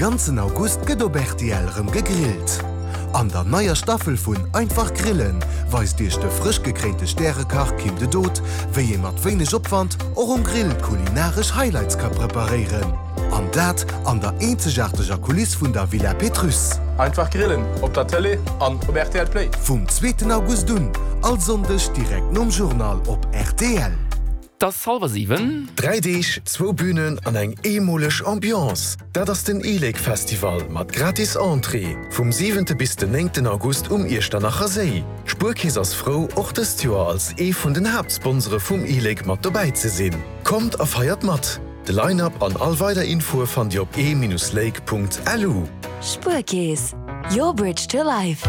ganzen August gëtt op rtl rëm gegrillt. An der neier Staffel vun Einfach grillen weist iech de frësch gekréinte Stärekach Kim de Dood, wéi ee mat wéineg Opwand och um Grill kulinaresch Highlights ka preparéieren. An dat an der eenzegaarteger Kuliss vun der Villa Pétrusse. Einfach grillen op der Tëlee an op rtl Play. Vum zweeten August un, all Sonndeg direkt nom Journal op rtl. 't ass hallwer 7. 3 Deeg, zwou Bünen an eng eemoleg Ambiance, dat ass den e-Lake Festival mat gratis Entrée vum siwente bis den néngten August um Iechternacher Séi. D'Spuerkeess ass frou, och dëst Joer als ee vun den Haaptsponsore vum e-Lake mat dobäi ze sinn. Kommt a feiert mat! De Line-Up an all weider Infoe fannt Dir op e-lake.lu. Spuerkeess, your bridge to life.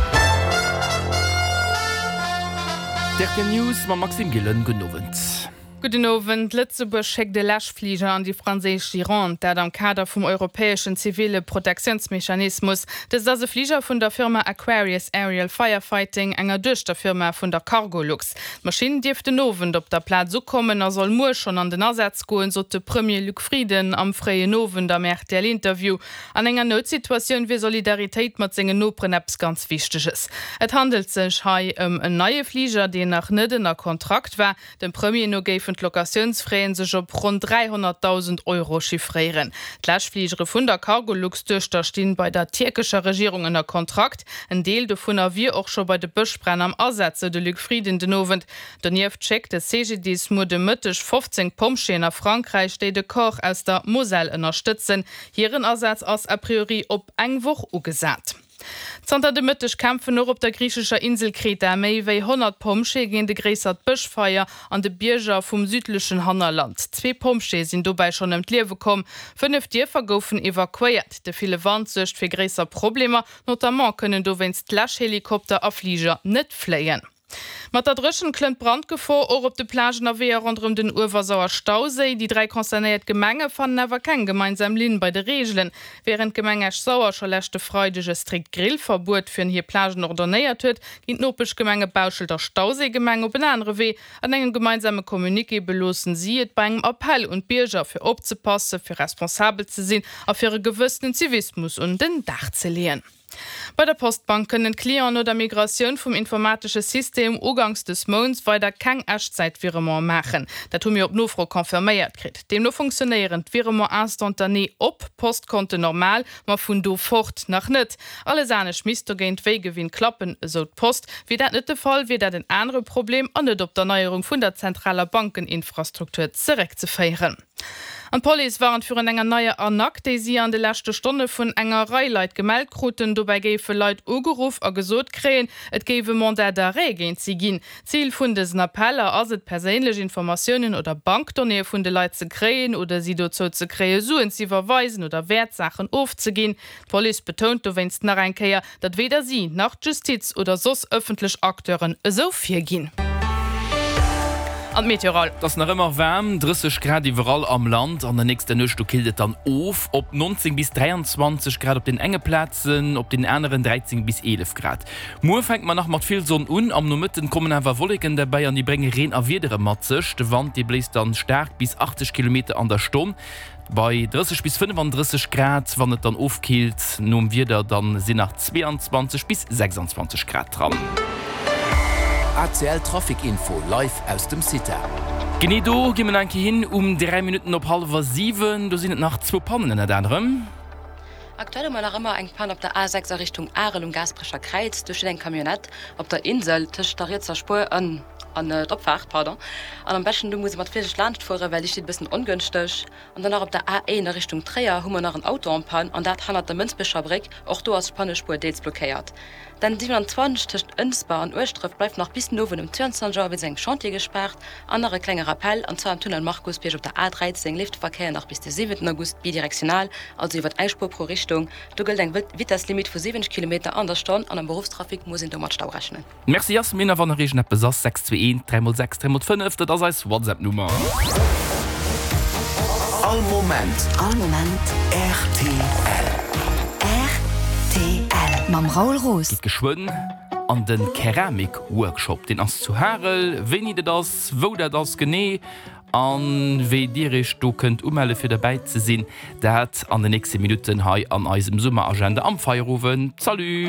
D'RTL News mam Maxime Gillen. Gudden Owend. Gudden Owend. Lëtzebuerg schéckt e Läschfliger an déi franséisch Gironde, dat am Kader vum europäeschen zivile Protektiounsmechanismus. Dëst ass e Fliger vun der Firma Aquarius Aerial Firefighting, enger Duechterfirma vun der Cargolux. D'Maschinn dierft den Owend op der Plaz ukommen a soll muer schonn an den Asaz goen, sot de Premier Luc Frieden am fréien Owend am RTL-Interview. An enger Noutsituatioun wier Solidaritéit mat sengen Noperen eppes ganz Wichteges. Et handelt sech hei ëm en neie Fliger, deen nach net ënner Kontrakt war. Dem Premier no géifen d'Locatiounsfraie sech op ronn 300.000 Euro chiffréieren. D'Läschfligere vun der Cargolux-Duechter stinn bei der tierkescher Regierung ënner Kontrakt. En Deel dovunner wier och scho bei de Bëschbränn am Asaz, sou de Luc Frieden den Owend. Donieft schéckt de CGDIS muer de Mëtteg 15 Pompjeeën a Frankräich, déi de Corps aus der Moselle ënnerstëtzen. Hiren Asaz ass a priori op eng Woch ugesat. Zanter de Mëtteg kämpfen och op der griichescher Insel Kreta méi wéi 100 Pompjeeë géint e gréissert Bëschfeier an de Bierger vum südlechen Hannerland. Zwee Pompjeeë sinn dobäi schonn ëm d'Liewe komm, 5 Dierfer goufen evakuéiert. De ville Wand suergt fir gréisser Problemer, notamment kënnen dowéinst d'Läschhelikopter a Fliger net fléien. Mat der Dréchent klëmmt d'Brandgefor och op de Plagen a Weeër ronderëm den Uewersauer Stauséi. Déi 3 concernéiert Gemenge fannen awer keng gemeinsam Linn bei de Reegelen. Wärend d'Gemeng Esch-Sauer scho leschte Freideg e strikt Grillverbuet fir hir Plagen ordonnéiert huet, ginn d'Nopeschgemenge Bauschelt a Stauséigemeng op en anere Wee. An engem gemeinsame Communiqué beloossen si et bei engem Appell un d'Bierger, fir opzepassen, fir responsabel ze sinn a fir e gewëssenen Zivismus un den Dag ze leeën. Bei der Postbank kënnen d'Clienten no der Migratioun vum informatesche System uganks des Mounts weider keng Echtzäit-Virementen maachen. Dat hu mir op Nofro confirméiert kritt. Deemno funktionéieren d'Virements instantanés op Postkonten normal, ma vun do fort nach net. Alles anescht misst dogéint wéi gewinnt klappen, esou d'Post. Wier dat net de Fall, wier dat en anere Problem an net op d'Erneierung vun der zentraler Bankeninfrastruktur zeréckzeféieren. An d'Police warnt virun enger neier Arnaque, déi si an de leschte Stonne vun enger Rei Leit gemellt kruten. Dobäi géife Leit ugeruff a gesot kréien, et géif e Mandat d'arrêt géint si ginn. Zil vun dësen Appeller ass et, perséinlech Informatiounen oder Bankdonnéeë vun de Leit ze kréien oder si dozou ze kréie Suen z'iwwerweisen oder Wäertsaachen ofzeginn. D'Police betount dowéinst nach eng Kéier, datt weder si nach d'Justiz oder soss ëffentlech Acteuren esou virginn. An d'Meteo Raoul. Et ass nach ëmmer waarm, 30 Grad iwwerall am Land. An der nächster Nuecht do killt et dann of op 19 bis 23 Grad op den enge Plazen, op den aneren 13 bis 11 Grad. Muer fänke mer nach mat vill Sonn un, am Nomëtten kommen awer Wolleken derbäi an déi brénge Reen a Wiedere mat sech. De Wand dee bléist dann staark bis 80 Kilometer an der Stonn. Bei 30 bis 35 Grad, wann et dann ofkillt nom Wieder, dann sinn nach 22 bis 26 Grad dran. ACL Trafic Info live aus dem CITA. Genee do gi mer nach eng Kéier hin um 3 Minutten op hallwer 7. Do sinn et nach zwou Pannen ënnert anerem. Aktuell hu mer nach ëmmer eng Panne op der A6 a Richtung Arel um Gaasperecher Kräiz. Do steet eng Camionnette op der Insel tëscht der rietser Spuer an an d'Opfaart, pardon. An am beschten do muss ee mat Virsicht laanscht fueren, well déi steet e bëssen ongënschteg. An dann nach op der A1 a Richtung Tréier hu mer nach en Auto en panne an dat hannert der Mënsbecher Bréck. Och do ass d'Pannespuer deels blockéiert. D'N 27 tëscht Ënsber an Ueschdref bleift nach bis den Owend um 22 Auer wéinst engem Chantier gespaart. An nach e klenge Rappell, an zwar am Tunnel Markusbierg op der A13 leeft de Verkéier nach bis de 7 August bidirektional, also iwwert eng Spuer pro Richtung. Do gëllt eng Vitesslimit vu 70 Kilometer an der Stonn an am Beruffstrafic muss een do mat Stau rechnen. Merci Yasmin, a wann nach iergendeppes ass, 621 3 x 6 3 x 5, dat ass eis WhatsApp Nummer. All Moment. All Moment. Rtl. Rtl. Mam Raoul Roos. Gitt geschwënn an de Keramik Workshop, deen ass zu Harel. Wéini dat ass, wou dat ass genee. An wéi dir iech do kënnt umelle fir derbäi ze sinn, dat an de nächste Minutten hei an eisem Summeragenda am Feierowend. Salut!